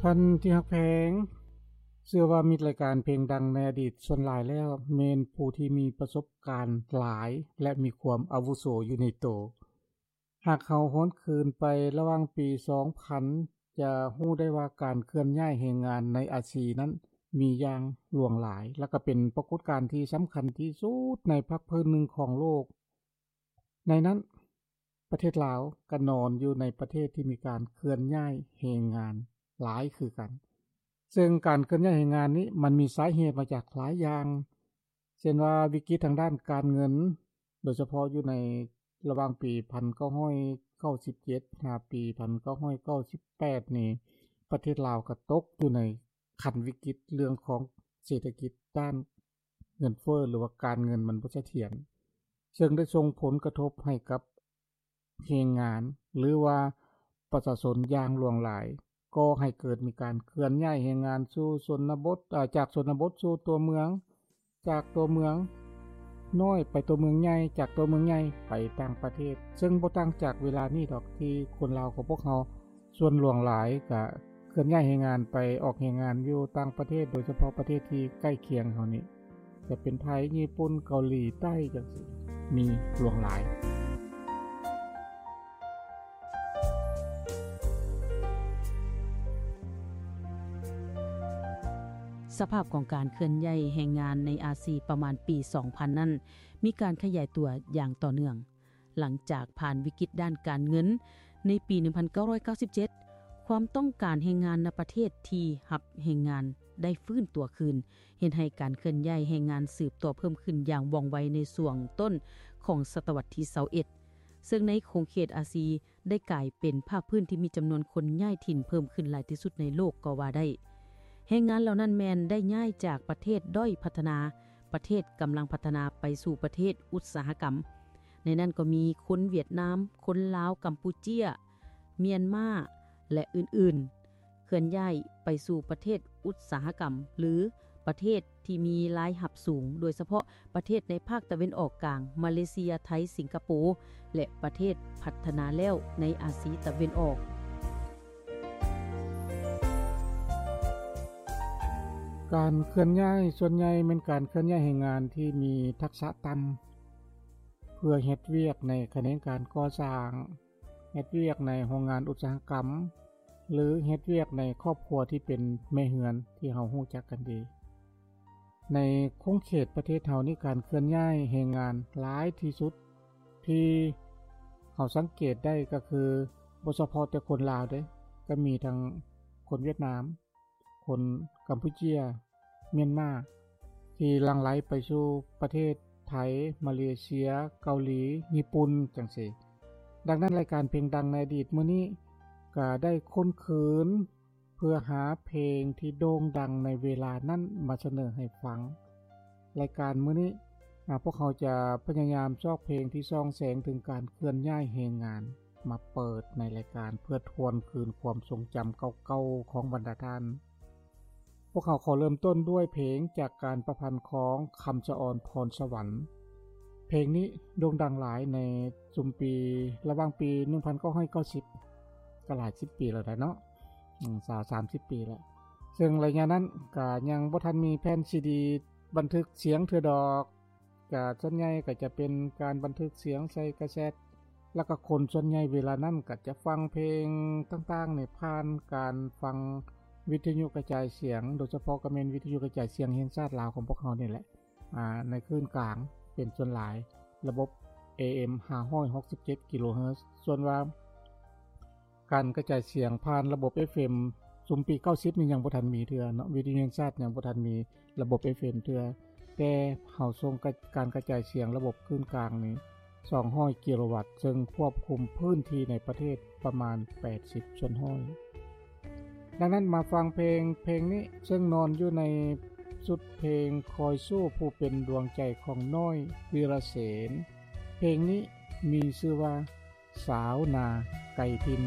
ທ່ານທີ່ຮັກແພງ, ເຊື່ອວ່າມິດລາຍການເພງດັງໃນອະດີດສ່ວນຫຼາຍແລ້ວ ແມ່ນຜູ້ທີ່ມີປະສົບການຫຼາຍ ແລະ ມີຄວາມອາວຸໂສຢູ່ໃນໂຕ. ຫາກເຮົາຫວນຄືນໄປລະຫວ່າງປີສອງພັນ ຈະຮູ້ໄດ້ວ່າການເຄື່ອນຍ້າຍແຮງງານໃນອາຊີນັ້ນມີຢ່າງຫຼວງຫຼາຍ ແລະ ກໍເປັນປາກົດການທີ່ສຳຄັນທີ່ສຸດໃນພາກພື້ນໜຶ່ງຂອງໂລກ. ໃນນັ້ນ ປະເທດລາວກໍນອນຢູ່ໃນປະເທດທີ່ມີການເຄື່ອນຍ້າຍແຮງງານຫຼາຍຄືກັນ. ເຊິ່ງການເຄື່ອນຍ້າຍແຮງງານນີ້ມັນມີສາເຫດມາຈາກຫຼາຍຢ່າງ, ເຊັ່ນວ່າວິກິດທາງດ້ານການເງິນ, ໂດຍສະເພາະຢູ່ໃນລະຫວ່າງປີພັນເກົ້າຮ້ອຍເກົ້າສິບເຈັດ ຫາປີພັນເກົ້າຮ້ອຍເກົ້າສິບແປດນີ້ ປະເທດລາວກໍຕົກຢູ່ໃນຂັ້ນວິກິດເລື່ອງຂອງເສດຖະກິດດ້ານເງິນເຟີ້ ຫຼືວ່າການເງິນມັນບໍ່ສະຖຽນ, ເຊິ່ງໄດ້ສົ່ງຜົນກະທົບໃຫ້ກັບແຮງງານ ຫຼືວ່າປະຊາຊົນຢ່າງຫຼວງຫຼາຍ, ກໍ່ໃຫ້ເກີດມີການເຄື່ອນຍ້າຍແຮງງານສູ່ຊົນນະບົດ, ເອີ່ ຈາກຊົນນະບົດສູ່ຕົວເມືອງ, ຈາກຕົວເມືອງນ້ອຍໄປຕົວເມືອງໃຫຍ່, ຈາກຕົວເມືອງໃຫຍ່ໄປຕ່າງປະເທດ, ເຊິ່ງບໍ່ຕ່າງຈາກເວລານີ້ດອກ ທີ່ຄົນລາວຂອງພວກເຮົາສ່ວນຫຼວງຫຼາຍກະເຄື່ອນຍ້າຍແຮງງານໄປອອກແຮງງານຢູ່ຕ່າງປະເທດ, ໂດຍສະເພາະປະເທດທີ່ໃກ້ຄຽງເຮົານີ້ ຈະເປັນໄທ, ຍີ່ປຸ່ນ, ເກົາຫຼີໃຕ້ ຈັ່ງຊີ້ ມີຫຼວງຫຼາຍ. ສະພາບຂອງການເຄື່ອນຍ້າຍແຮງງານໃນອາຊີປະມານປີສອງພັນນັ້ນ ມີການຂະຫຍາຍຕົວຢ່າງຕໍ່ເນື່ອງ. ຫຼັງຈາກຜ່ານວິກິດດ້ານການເງິນໃນປີໜຶ່ງພັນເກົ້າຮ້ອຍເກົ້າສິບເຈັດ, ຄວາມຕ້ອງການແຮງງານໃນປະເທດທີ່ຮັບແຮງງານໄດ້ຟື້ນຕົວຄືນ, ເຮັດໃຫ້ການເຄື່ອນຍ້າຍແຮງງານສືບຕໍ່ເພີ່ມຂຶ້ນຢ່າງວ່ອງໄວໃນຊ່ວງຕົ້ນຂອງສະຕະວັດທີຊາວເອັດ, ເຊິ່ງໃນຂົງເຂດອາຊີ ໄດ້ກາຍເປັນພາກພື້ນທີ່ມີຈຳນວນຄົນຍ້າຍຖິ່ນເພີ່ມຂຶ້ນຫຼາຍທີ່ສຸດໃນໂລກກໍວ່າໄດ້. ແຮງງານເຫຼົ່ານັ້ນແມ່ນໄດ້ຍ້າຍຈາກປະເທດດ້ອຍພັດທະນາ, ປະເທດກຳລັງພັດທະນາໄປສູ່ປະເທດອຸດສາຫະກຳ. ໃນນັ້ນກໍມີຄົນຫວຽດນາມ, ຄົນລາວ, ກຳປູເຈຍ, ມຽນມາ ແລະ ອື່ນໆ. ເຄື່ອນຍ້າຍໄປສູ່ປະເທດອຸດສາຫະກຳ ຫຼື ປະເທດທີ່ມີລາຍຮັບສູງ, ໂດຍສະເພາະປະເທດໃນພາກຕາເວັນອອກກາງ, ມາເລເຊຍ, ໄທ, ສິງກະໂປ ແລະ ປະເທດພັດທະນາແລ້ວໃນອາຊີຕາເວັນອອກ. ການເຄື່ອນຍ້າຍສ່ວນໃຫຍ່ແມ່ນການເຄື່ອນຍ້າຍແຮງງານທີ່ມີທັກສະຕ່ຳ ເພື່ອເຮັດວຽກໃນຂະແໜງການກໍ່ສ້າງ, ເຮັດວຽກໃນໂຮງງານອຸດສາຫະກຳ ຫຼື ເຮັດວຽກໃນຄອບຄົວທີ່ເປັນແມ່ເຮືອນທີ່ເຮົາຮູ້ຈັກກັນດີ. ໃນຂົງເຂດປະເທດເຮົານີ້ ການເຄື່ອນຍ້າຍແຮງງານຫຼາຍທີ່ສຸດທີ່ເຮົາສັງເກດໄດ້ກໍຄື ບໍ່ສະເພາະແຕ່ຄົນລາວເດ້, ກໍມີທັງຄົນຫວຽດນາມ, ຄົນກຳປູເຈຍ, ມຽນມາ ທີ່ຫຼັ່ງໄຫຼໄປສູ່ປະເທດໄທ, ມາເລເຊຍ, ເກົາຫຼີ, ຍີ່ປຸ່ນ ຈັ່ງຊີ້. ດັ່ງນັ້ນ ລາຍການເພງດັງໃນອະດີດມື້ນີ້ກໍໄດ້ຄົ້ນຄືນເພື່ອຫາເພງທີ່ໂດ່ງດັງໃນເວລານັ້ນມາສະເໜີໃຫ້ຟັງ. ລາຍການມື້ນີ້ ອາ ພວກເຮົາຈະພະຍາຍາມຊອກເພງທີ່ສ່ອງແສງເຖິງການເຄື່ອນຍ້າຍແຮງງານ ມາເປີດໃນລາຍການເພື່ອທວນຄືນຄວາມຊົງຈຳເກົ່າໆຂອງບັນດາທ່ານ. ພວກເຮົາຂໍເລີ່ມຕົ້ນດ້ວຍເພງຈາກການປະພັນຂອງຄຳສະອອນ ພອນສະຫວັນ. ເພງນີ້ໂດ່ງດັງຫຼາຍໃນຊຸມປີ ລະຫວ່າງປີໜຶ່ງພັນເກົ້າຮ້ອຍເກົ້າສິບ ກໍຫຼາຍສິບປີແລ້ວແຫຼະເນາະ, ອືມ ຊາວ ສາມສິບປີແລ້ວ. ເຊິ່ງໄລຍະນັ້ນກໍຍັງບໍ່ທັນມີແຜ່ນຊີດີບັນທຶກສຽງເທື່ອດອກ. ກະສ່ວນໃຫຍ່ກະຈະເປັນການບັນທຶກສຽງໃສ່ກາເຊັດ ແລ້ວກະຄົນສ່ວນໃຫຍ່ເວລານັ້ນກະຈະຟັງເພງຕ່າງໆນີ້ຜ່ານການຟັງວິທະຍຸກະຈາຍສຽງ, ໂດຍສະເພາະກະແມ່ນວິທະຍຸກະຈາຍສຽງແຫ່ງຊາດລາວຂອງພວກເຮົານີ້ແຫຼະ, ອາ, ໃນຄື້ນກາງເປັນສ່ວນຫຼາຍ, ລະບົບ ເອເອັມ ຫ້າຮ້ອຍຫົກສິບເຈັດກິໂລເຮີດ. ສ່ວນວ່າ ການກະຈາຍສຽງຜ່ານລະບົບ ເອັຟເອັມ ຊຸມປີເກົ້າສິບນີ້ຍັງບໍ່ທັນມີເທື່ອເນາະ, ວິທະຍຸແຫ່ງຊາດຍັງບໍ່ທັນມີລະບົບ ເອັຟເອັມ ເທື່ອ, ແຕ່ເຮົາສົ່ງກະ ການກະຈາຍສຽງລະບົບຄື້ນກາງນີ້ ສອງຮ້ອຍກິໂລວັດ, ເຊິ່ງຄວບຄຸມພື້ນທີ່ໃນປະເທດປະມານ ແປດສິບສ່ວນຮ້ອຍ. ດັ່ງນັ້ນມາຟັງເພງ ເພງນີ້, ເຊິ່ງນອນຢູ່ໃນຊຸດເພງຄອຍສູ້ຜູ້ເປັນດວງໃຈຂອງນ້ອຍ ວີລະເສນ. ເພງນີ້ມີຊື່ວ່າ ສາວນາໄກຖິ່ນ.